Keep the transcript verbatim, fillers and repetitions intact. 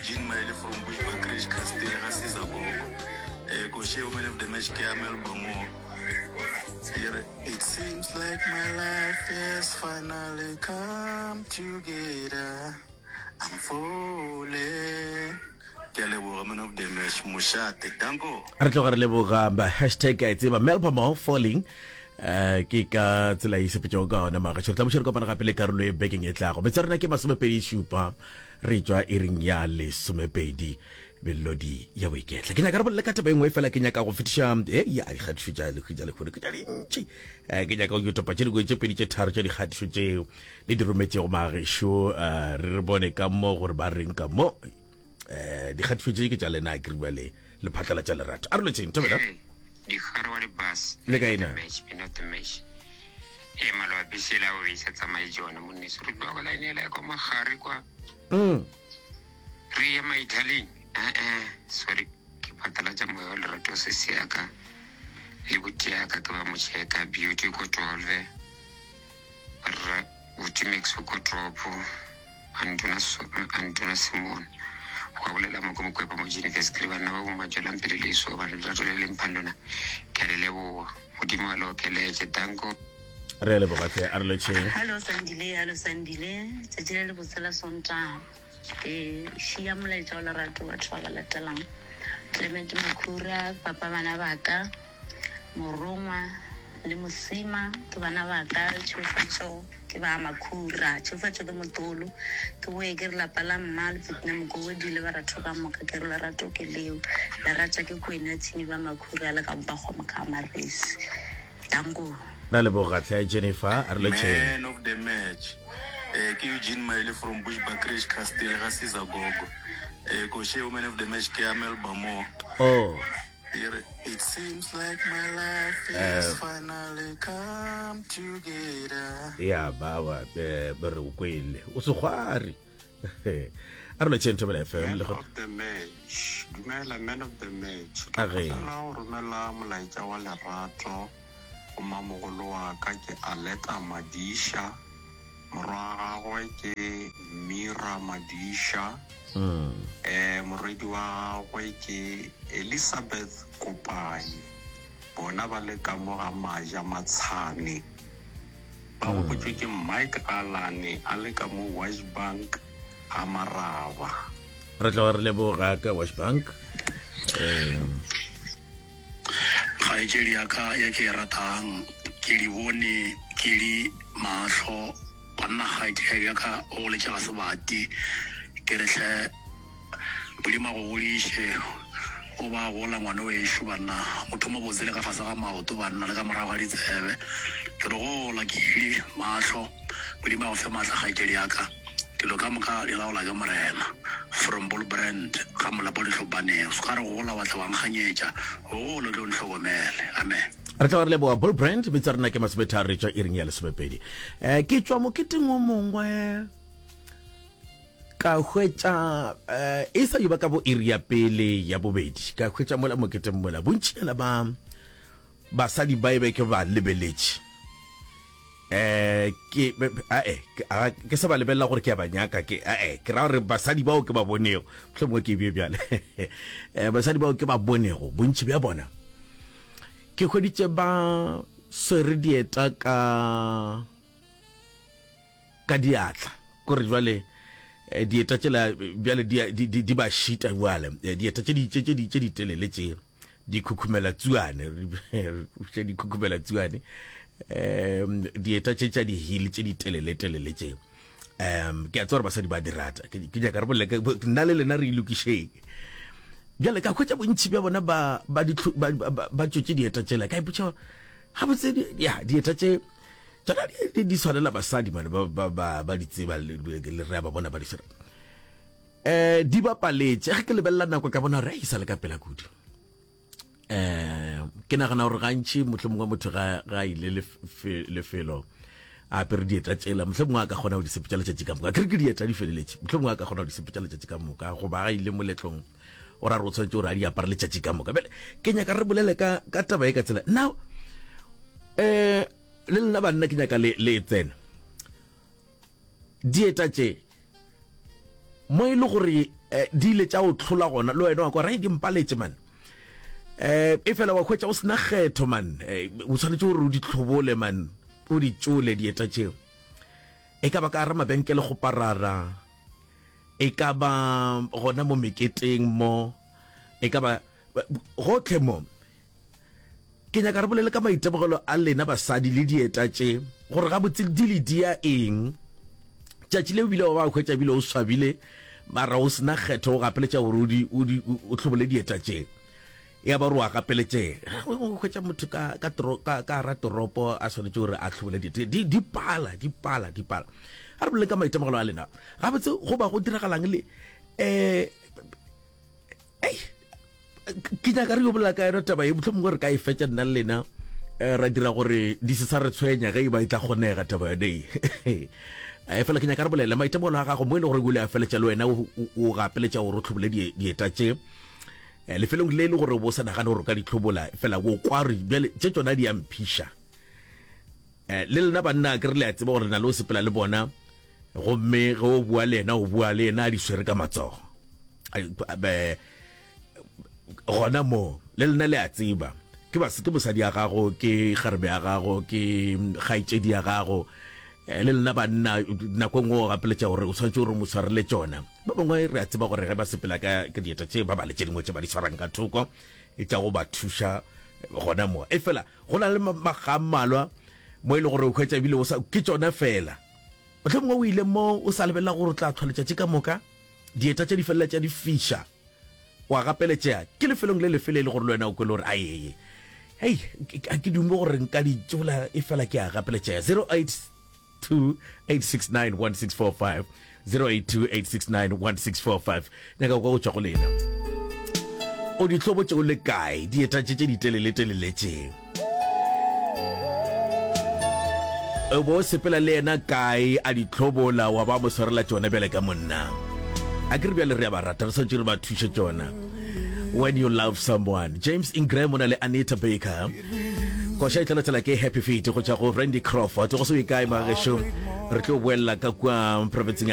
Jean Maile from Bushbuckridge Castle ga Caesar Gogo. Eh, Koshe man of the match ke ya Melbourne mo. It seems like my life has finally come together. I'm falling. Ke a leboga man of the match mošate. Danko. Re tloga re leboga ba hashtag a e tseba Melbourne falling eh ke ka tsela e sepetšego ka ona magašo re tla buša re kopana gape le karolo e bekeng e tlago metsa rena ke masomepedi šupa re tšwa iring ya lesomepedi melodi ya boiketla ke nyaka re bolele ka taba e nngwe fela ke nyaka go fetiša e ya dikgatišo tša lekgwi tša lekgono ke tša dintši um ke nyaka go topa tše dingwe tše pedi tše tharo tša dikgatišo tšeo le di rometšego magešo um re re bone ka mo gore ba reng ka mo um dikgatišo tše ke tša lena a keriwa le le phatlalatša lerato a re lotšeng thobela Dikgare wa di-bus Le kae na? match man of the match ee maloba bese ela o e sa tsamaye jona monneso re tloga line ela ya kwa magare kwa Mm. re ye maithaleng ee sorry ke phatlalatša moya wa lerato sesi yaka le buti yaka ke ba mocheka beauty ko twelve rra buti max ko tropo antona antona simon go bolela mo ko mokwepa mo university le banna ba bomma tswelang pele le so bana lerato le leng phang lona ke a le leboga modimo a le okeletše danko re a leboga hle a re lotšheng Hallo Sandile, hallo Sandile. Tšatši le lebotse la Sontaga. Ke šia molaetša wa lerato batho ba ba latelang. Clement Makhura, papa bana ba ka, Morongwa le Mosima ke bana ba ka, Tšhegofatšo ke ba Makhura, Tšhegofatšo ke motolo. Ke boye ke re lapa la mma le Fitina Mokobodi le baratho ka moka ke re lerato ke leo. Lerata ke Kwena Tshini ba Makhura le ka Mpakgomo ka Maresi. Danko. ra leboga hle Jennifer a re lotšheng Man of the match. Eh, ke Eugene Maile from Bushbuckridge Castle ga Caesar Gogo. Eh, Koshe man of the match ke ya Melbourne mo. oh It seems like my life has finally come together. ya bawa eh, be re o kwele o segwari a re lotšheng thobela fm Man le go of the match dumela man of the match A ge. kgopela go romela molaetša wa lerato go mamogolo wa ka ke Aleta Madiša morwa wa gagwe ke Mira Madiša Mm. eh morwedi wa gagwe ke Elizabeth Kopai bona ba le ka mo ga Maja Matshane ba gopotšwe ke Mike Allan a le ka mo Washbank ga Maraba re tloga re leboga ka wash bank um kgaetšedi ya ka ya ke e ratang ke di bone ke di mahlo banna kgaetšedi ya ka o goletše ga sebati ke re hle modimo a go godiše o ba gola ngwana o ešo banna motho mo botse le ka fase ga maoto banna le ka morago ga ditsebe ke re gola ke ile mahlo modimo a go fe maatla kgaetšedi ya ka dilo ka moka di laola ke morena from bull brand ga molapo ditlhopaneng se ka re gola wa tla wa nkganyetša gola o tlo ntlhokomele amen re tloga re leboga bull brand metsa rena ke masometharo re tšwa iring ya lesomepedi um ke tšwa moketeng o mongwe ka hwetša um e sa yo ba ka bo iri ya pele ya bobedi ka hwetša mola moketeng mola bontšinyana ba basadi ba e be ke ba lebeletše eh ke ae ke ke sa ba lebelela gore ke a ba nyaka ke ae ke ra gore basadi bao ke ba bonego mohlomongwe ke bje bjale eh basadi bao ke ba bonego bontši bja bona ke hweditše ba swere dieta ka ka diatla kore jwale eh, dieta tšela bjale di di di- di ba šita bjale Eh, dieta tše di tše tše di tše di telele tše di khukhumela tsuane tše di khukhumela tsuane um dieta tše tša di-heel tše di telele telele tše um ke a tseba gore basadi ba di rata ke ke nyaka re bolele ka- nna le lena re ilokišeng bjale ka hwetša bontši bja bona ba ba di ba ba- ba tšotše dieta tšela ka ipotša gabotse di- ya dieta tše tsona di- di di tshwanela basadi mane ba ba ba ba di tseba le le re a ba bona ba di swara eh di bapaletše ge ke lebelela nako ka bona gore e sa le ka pela kudu eh ke nagana gore gantši mohlomongwe motho ga ga ile lefe- lefelo a apere dieta tšela mohlomongwe a ka kgona go di sepetša letšatši ka moka ke re ke dieta di feleletše mohlomongwe a ka kgona go di sepetša letšatši ka moka goba ga ile moletlong o ra re o tshwanetse gore a di apare letšatši ka moka bjale ke nyaka re bolele ka ka taba e ka tsela now eh le lena banna ke nyaka le le e tsena dieta tše mo e le gore um di ile tša o tlhola gona le wena wa kwa re di mpaletše man um e fela wa hwetša o sena kgetho man o tshwanetse gore o di tlhobole man o di tšole dieta tšeo e ka ba ka gara mabenkele go parara e ka ba gona mo meketeng mo e ka ba gotlhe mo ke nyaka re bolele ka maitemogelo a lena basadi le dieta tše gore gabotse di le dia eng tšatši le bile wa ba hwetša bile o swabile mara o sena kgetho o gapeletša gore o tlhobole dieta tše ya ba re wa gapeletšega o hwetša motho ka ka ka ka ra toropo a swanetše gore a tlhobole dieta di di pala di pala di pala a re bolele ka maitemogelo a lena gabotse go ba go diragalang le um ei ke nyaka re yo bolela ka yona taba ye mohlomongwe re ka e fetša nna le lena eh, ra dira gore di se sa re tshwenya ge e ba e tla kgonega taba yone e eh, fela ke nyaka re bolele maitemogelo a gago mo e le gore o ile a feletša le wena o gapeletša gore o tlhobole dieta tše eh, lefelong le e le gore o bo sa nagane gore o ka di tlhobola fela o kware bjale tše tsona di a mphiša eh, le lena banna ke re le a tseba gore na le o sepela le bona gomme ge o bua le yena o bua le yena a di swere ka matsogo gona mo le lena le a tseba ke bas ke mosadi ya gago ke kgarebe ya gago ke kgaetšedi ya gago eh, le lena banna nako e nngwe o gapeletša gore o tshwanetse gore mo tshwarele tšona ba bangwe re a tseba gore ge ba sepela ka ka dieta tše ba ba le tše dingwe tše ba di tshwarang ka thoko e tša go ba thuša gona mo e fela go na le maga a mmalwa mo e le gore o hwetša ebile o sa ke tšona fela mohlomongwe o ile mo o sa lebelela gore o tla tlhwa letšatši ka moka dieta tše di feleletša di fiša wa gapeletšega ke lefelong le lefe le e le gore le wena o kwele gore aeye hei ga ke dume gore nka di tšola e fela ke a gapeletšega zero eight two eight six nine one six four five zero eight two eight six nine one six four five nyaka kwa go tšwa go lena o di hlobotše o le kae dieta tše tše diteleletelele tše o bo sepela le yena kae a di tlhobola wa ba mo swarela tšona bjale ka monna a ke re bjale re a ba rata re swanetše re ba thuše tšona when you love someone James Ingram o na le Anita Baker koša e tla latela ke Happy Feet go tšwa go Randy Crawford go se ye kae magešo re tlo boelela ka kua provinceng ya